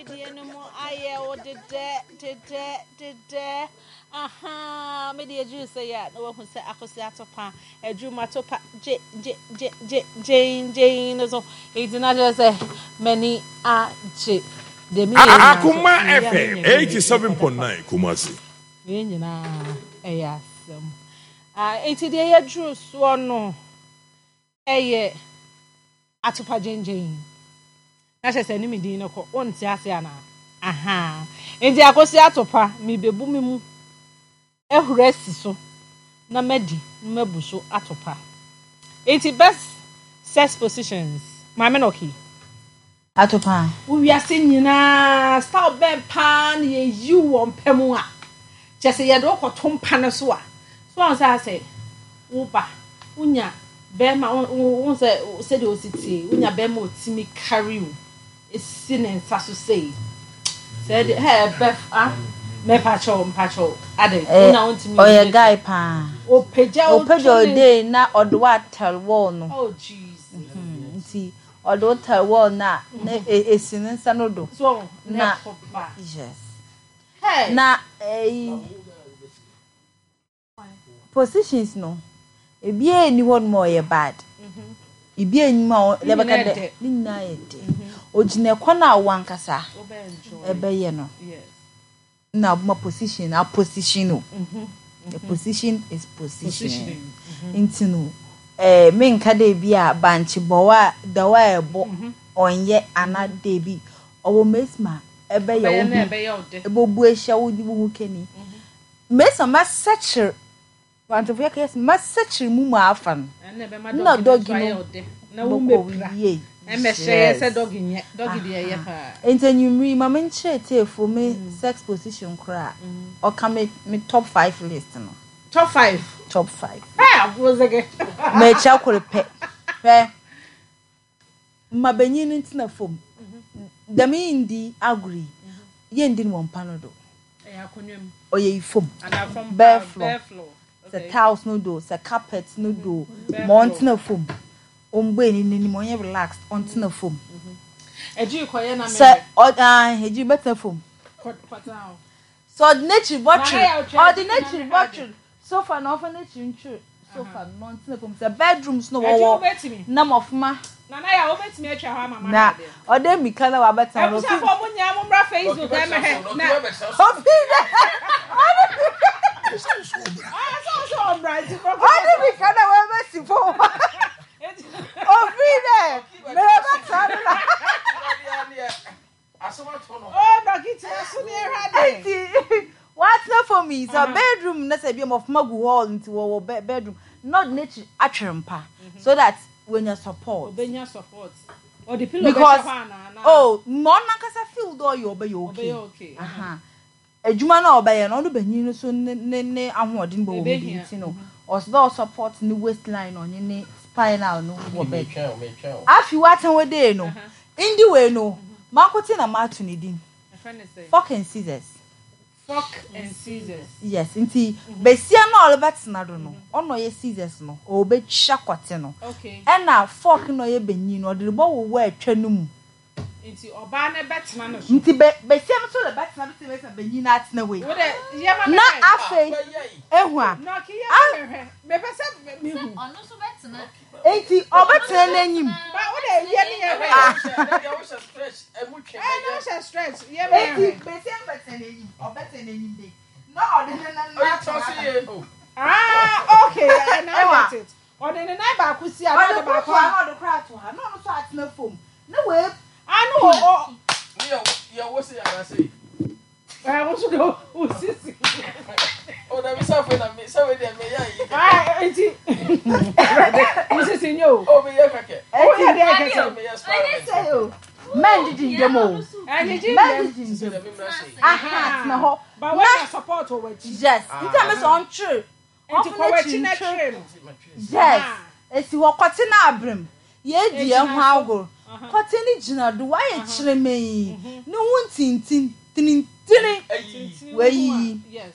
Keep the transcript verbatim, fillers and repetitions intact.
Dwumadie no mu ayɛ wo dedɛ dedɛ dedɛ. Aha, mede adwuru sɛ yɛ a na wahu sɛ Akosi Atopa adwuma topa gye gye gye gye gyen gyen no so. Enti na kyerɛ sɛ m'ani agye. Deɛ meyɛ nyinaa nso, Akoma meyɛ a F M menya bi eighty seven point nine Kumasi. Wei nyinaa ɛyɛ asɛm. Ah, enti deɛ yɛduru soɔ no ɛyɛ Atopa gyengyen. Na kyerɛ sɛ ne me din no kɔ, wonte ase anaa? Aha. Enti Akosi Atopa, mebebu me mu ahuru asi so na madi na mabu so atopa. Enti best sex positions, Maame Nɔki. Atopa. Wo wiase nyinaa style bɛn paa na yɛyi wɔ mpa mu a kyerɛ sɛ yɛde wokɔto mpa no so a so wɔn sɛ asɛ woba wonya bɛrima wo sɛ sɛdeɛ osi tie wonya bɛrima otimi carry wo esi ne nsa so sei sɛ de hɛ bɛ ah mɛpakyɛw mpakyɛw ade wona wontumi ɔyɛ guy paa. Opagya. Opagya ɔde na ɔde wa tell wall no. Oh Jesus. Nti ɔde wo tell wall na na esi ne nsa no do. So na yes. Hey. Na eh positions no ebi eni hɔ nom a ɔyɛ bad. Ebi enyim a yɛbɛka dɛ ne nyinaa yɛ dɛ. Ogyina kwan a wankasa ɛbɛyɛ no. Na ma position a position o. The position is position. Nti no eh menka dɛ bi a bankye bɔwa da wa ɛbɔ ɔnyɛ ana dɛ bi ɔwɔ mesma ɛbɛyɛ wo ho ɛbɛbu ahyia wo wo ho kani. Mesma masɛkyere bankyefo yɛ kɛse masɛkyere mu mu afa no. Na doggy no bɔkɔ yie. Nti enyimri ma menkyerɛ teefo me sex position koraa ɔka me me top five list no. Top five. Top five. Hey, abozege. Mekyɛ koro pɛ. Hwɛ. Ma benyin no ntena fam. Dɛm yi ndi agorɔ yi. Yɛndi no wɔ mpa no do. Ɔyɛ yi fam. Bare floor. Sɛ tiles no do, sɛ carpet no do, ma ɔntena fam. Ɔmbɔ eni n'anim, ɔnyɛ relaxed, ɔntena fam. Sɛ ɔ ah egyi bɛtena fam. Sɛ ɔde n'ekyir bɔtwer, ɔde n'ekyir bɔtwer sofa na ɔfa n'ekyir ntwer sofa no ɔntena fam. Sɛ bedrooms no wɔwɔ na mɔfoma. Nana ya wobɛtumi atwa hɔ ama na ɔde mika na wabɛtena no. Abusuafo mo nyinaa mo mmra Facebook ɛmɛhɛ na ofi dɛ ɔde mika na wabɛsi fam ofi dɛ mɛ bɛtena no na. Oh, dɔkita so ne ɛhwɛ ade. Nti watena fam yi sɛ bedroom na sɛ bi mɔfoma gu hall nti wɔwɔ bedroom na ɔde n'akyi atwere mpa so that when support. Obenya support. Or the pillow. Because oh, mo nankasa feel do you obey okay. Okay. Aha. Ejuma na obey no no benyin no so ne ne ne ahoɔden bo wo bi nti no. Ɔsɛ support ne waistline on ne spinal no wo bed. Afi watan we dey no. Indi we no. Mankote na matu ne din. Fork and scissors. Fork and scissors. Yes, nti besia na ɔrebɛtena do no, ɔno yɛ scissors no, ɔbɛtwa kɔte no. Okay. Ɛna fork no yɛ benyin no, ɔde bɔ wo wɔ atwa no mu. Nti ɔbaa na bɛtena no so. Nti be besia no so le bɛtena do sɛ benyin na atena wei. Wo de yɛ ma na afei ehu a. Na ki yɛ ma hwɛ. Me pɛ sɛ me hu. Ɔno so bɛtena. Nti ɔbɛtena n'anim. Ba wo de yɛ ne yɛ hwɛ. Ɛna hyɛ stretch yɛ ma hwɛ. Nti besia no bɛtena n'anim, ɔbɛtena n'anim de. Na ɔde ne nan na ato. Ah, okay, I now get it. Ɔde ne nan baako si a na ɔde baako a na ɔde kora ato ha na ɔno so atena fam. Na wei ah no o. Ne yɛ wo se yara se. Eh, wo so do wo sisi. O da bi sa fe na me sa we de me ya yi. Ah, enti. Wo sisi nye o. O me yɛ kɛkɛ. O yɛ de kɛkɛ. Me yɛ smart. O. Men gigi ndem o. Men gigi ndem. Aha, tena hɔ. Ba wa na support wɔ w'akyi. Yes. Nti a me so ɔntwere. Nti kɔ w'akyi na twere no. Yes. Esi hɔ kɔte na abrem. Ye di e ho agor. Kɔte ni gyina do wa ye kyerɛ me. Ne ho ntintin tinintini. Wayi. Yes.